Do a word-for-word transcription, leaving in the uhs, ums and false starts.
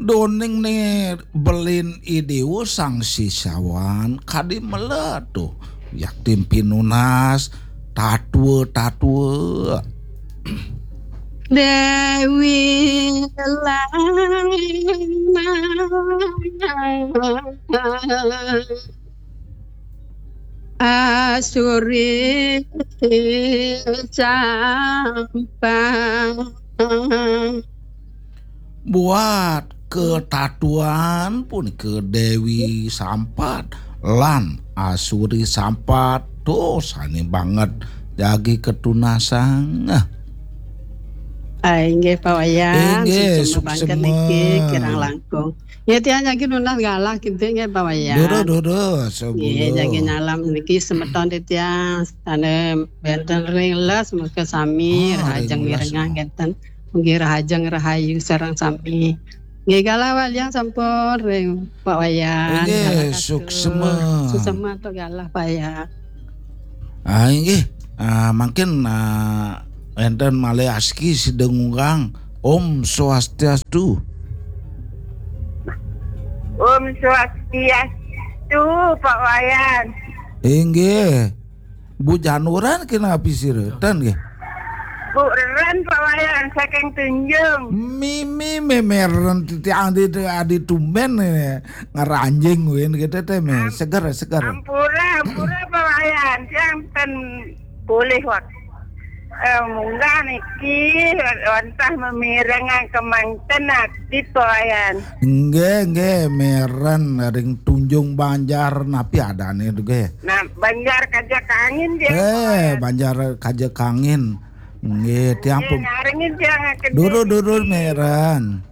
Doning ne belin idiu sang sisawan kadi meletu. Yakti pinunas tatua-tatua. Dewi Lana Asuri Sampah. Buat ketatuan pun ke Dewi Sampat lan Asuri Sampat tuh sani banget jagi ketunasang. Ai nggih Pak Wayan, Inggih, suksema banget suksema. Niki kirang langkung. Ya tiang jagi nunas galah kinten nggih Pak Wayan. Dodo dodo Nggih, sebulu. Jagi nyalam niki semeton titiang ane benten ring les muka sami Ah, rahajeng ring les. Mirengah ngeten. Mugi rahajeng rahayu sareng sami. Nggih galah walian sampun ring Pak Wayan. Inggih, Galah katu. Suksema. Suksema to galah Pak Wayan. Ah, inggih. Ah, mangkin ah, enten malih aski sida ngungkang. Om Swastiastu. Om Swastiastu, Pak Wayan. Inggih. Bu Januran kena api sira. Ten nggih. Bu Ren, Pak Wayan, saking Tunjung. Mimi memeren titiang adi adi tumben ini ngeranjing win gitu teh me. Seger seger. Ampura, ampura, Pak Wayan. Tiang ten boleh wak. Eh, munggah niki wantah memirengang kemangten aktif, Pak Wayan. Nggih nggih meren ring Tunjung Banjar napi adane tu nggih. Nah, Banjar Kajak Angin dia. Eh, Banjar Kajak Angin. Nggih, tiang pun. Ngarengin tiang akan Durur durur meren.